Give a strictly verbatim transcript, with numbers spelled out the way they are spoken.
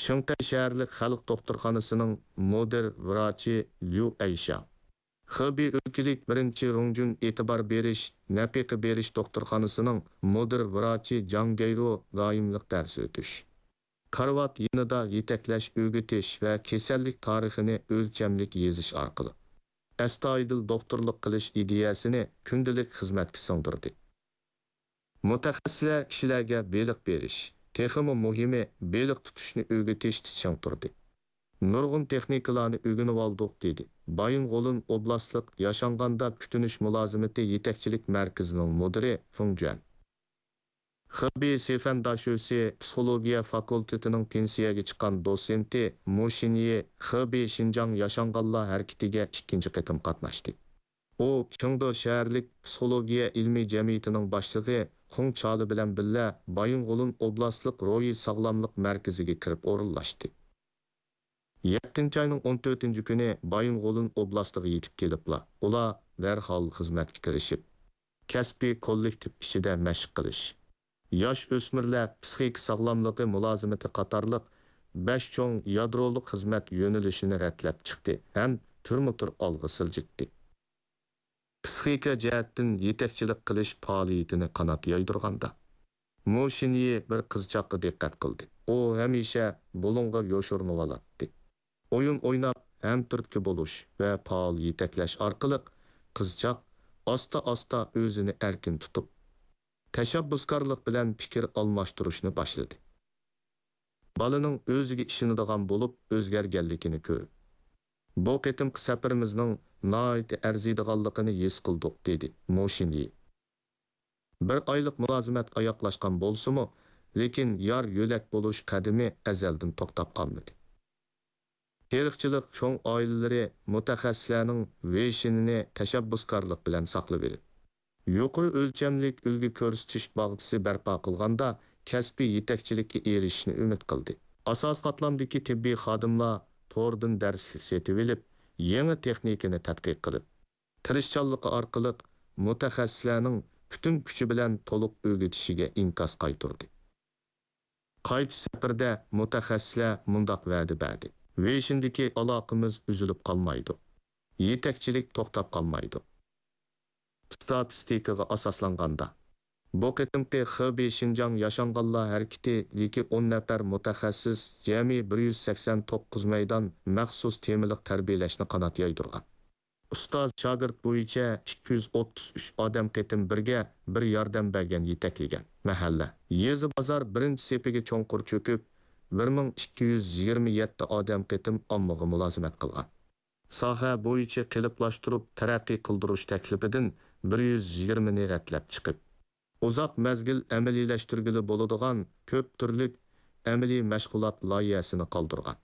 شېڭتەي شەھەرلىك خەلق دوختۇرخانىسىنىڭ مۇدىر ۋراچى ليۇ ئەيشياڭ، خېبېي ئۆلكىلىك بىرىنچى رۇڭجۈن ئېتىبار بېرىش، نەپىقە بېرىش دوختۇرخانىسىنىڭ مۇدىر ۋراچى جاڭ گەيرۇ دائىملىق دەرس ئۆتۈش، كارىۋات يېنىدا يېتەكلەش، ئۆگىتىش ۋە كېسەللىك تارىخىنى ئۆلچەملىك يېزىش ئارقىلىق ئەستايىدىل دوختۇرلۇق قىلىش ئىدىيەسىنى كۈندىلىك خىزمەتكە سىڭدۈردى. مۇتەخەسسىسلەر كىشىلەرگە بېلىق بېرىش، تېخىمۇ مۇھىمى، بېلىق تۇتۇشنى ئۆگىتىشتە چىڭ تۇردى. نۇرغۇن تېخنىكىلارنى ئۆگىنىۋالدۇق، دېدى بايىنغولىن ئوبلاستلىق ياشانغاندا كۈتۈنۈش مۇلازىمىتى يېتەكچىلىك مەركىزىنىڭ مۇدىرى فېڭ جۈەن. خېبېي سىفەن داشۆسى پسىخولوگىيە فاكۇلتېتىنىڭ پېنسىيەگە چىققان دوتسېنتى مۇ شىنيى خېبېي شىنجاڭ ياشانغانلار ھەرىكىتىگە ئىككىنچى قېتىم قاتناشتى. ئۇ چېڭدۇ شەھەرلىك پسىخولوگىيە ئىلمىي جەمئىيىتىنىڭ باشلىقى خۇڭ چالى بىلەن بىللە بايىنغولىن ئوبلاستلىق روھىي ساغلاملىق مەركىزىگە كىرىپ ئورۇنلاشتى. يەتتىنچى ئاينىڭ ئون تۆتىنچى كۈنى بايىنغولىن ئوبلاستىغا يېتىپ كېلىپلا، ئۇلار دەرھال خىزمەتكە كىرىشىپ، كەسپىي كوللېكتىپ ئىچىدە مەشىق قىلىش، ياش ئۆسمۈرلەر پىسخىكا ساغلاملىقى مۇلازىمىتى قاتارلىق بەش چوڭ يادرولۇق خىزمەت يۆنىلىشىنى رەتلەپ چىقتى ھەم تۈرمە تۈر ئالغا سىلجىتتى. پىسخىكا جەھەتتىن يېتەكچىلىك قىلىش پائالىيىتىنى قانات يايدۇرغاندا، مۇ شىنيى بىر قىزچاققا دىققەت قىلدى. ئۇ ھەمىشە بۇلۇڭغا يوشۇرۇنۇۋالاتتى. ئويۇن ئويناپ، ھەم تۈرتكە بولۇش ۋە پائال يېتەكلەش ئارقىلىق قىزچاق ئاستا-ئاستا ئۆزىنى ئەركىن تۇتۇپ، تەشەببۇسكارلىق بىلەن پىكىر ئالماشتۇرۇشنى باشلىدى. بالىنىڭ ئۆزىگە ئىشىنىدىغان بولۇپ ئۆزگەرگەنلىكىنى كۆرۈپ، بۇ قېتىمقى سەپىرىمىزنىڭ ناھايىتى ئەرزىيدىغانلىقىنى ھېس قىلدۇق، دېدى مۇ شىنيى. بىر ئايلىق مۇلازىمەت ئاياغلاشقان بولسىمۇ، لېكىن يار يۆلەك بولۇش قەدىمى ئەزەلدىن توختاپ قالمىدى. تېرىقچىلىق چوڭ ئائىلىلىرى مۇتەخەسسىسلەرنىڭ ۋېيشىنىنى تەشەببۇسكارلىق بىلەن ساقلىۋېلىپ، يۇقىرى ئۆلچەملىك ئۈلگە كۆرسىتىش باغچىسى بەرپا قىلغاندا، كەسپىي يېتەكچىلىككە ئېرىشىشنى ئۈمىد قىلدى. ئاساسىي قاتلامدىكى تېببىي خادىملار توردىن دەرسلىك سېتىۋېلىپ، يېڭى تېخنىكىنى تەتقىق قىلىپ، تىرىشچانلىقى ئارقىلىق مۇتەخەسسىسلەرنىڭ پۈتۈن كۈچى بىلەن تولۇق ئۆگىتىشىگە ئىنكاس قايتۇردى. قايتىش سەپىرىدە مۇتەخەسسىسلەر مۇنداق ۋەدە بەردى: ۋېيشىندىكى ئالاقىمىز ئۈزۈلۈپ قالمايدۇ. يېتەكچىلىك توختاپ قالمايدۇ. ئىستاتىستىكىغا ئاساسلانغاندا، بۇ قېتىمقى خېبېي شىنجاڭ ياشانغانلار ھەرىكىتى يىكى ئون نەپەر مۇتەخەسسىس جەمئىي بىر يۈز سەكسەن توققۇز مەيدان مەخسۇس تېمىلىق تەربىيەلەشنى قانات يايدۇرغان. ئۇستاز شاگىرت بويىچە ئىككى يۈز ئوتتۇز ئۈچ ئادەم قېتىم بىرگە بىر ياردەم بەرگەن، يېتەكلىگەن. مەھەللە، يېزا، بازار بىرىنچى سېپىگە چوڭقۇر چۆكۈپ، بىر مىڭ ئىككى يۈز يىگىرمە يەتتە ئادەم قېتىم ئاممىغا مۇلازىمەت قىلغان. ساھە بويىچە قېلىپلاشتۇرۇپ تەرەققىي قىلدۇرۇش تەكلىپىدىن بىر يۈز يىگىرمىنى رەتلەپ چىقىپ، ئۇزاق مەزگىل ئەمەلىيلەشتۈرگىلى بولىدىغان كۆپ تۈرلۈك ئەمەلىي مەشغۇلات لايىھەسىنى قالدۇرغان.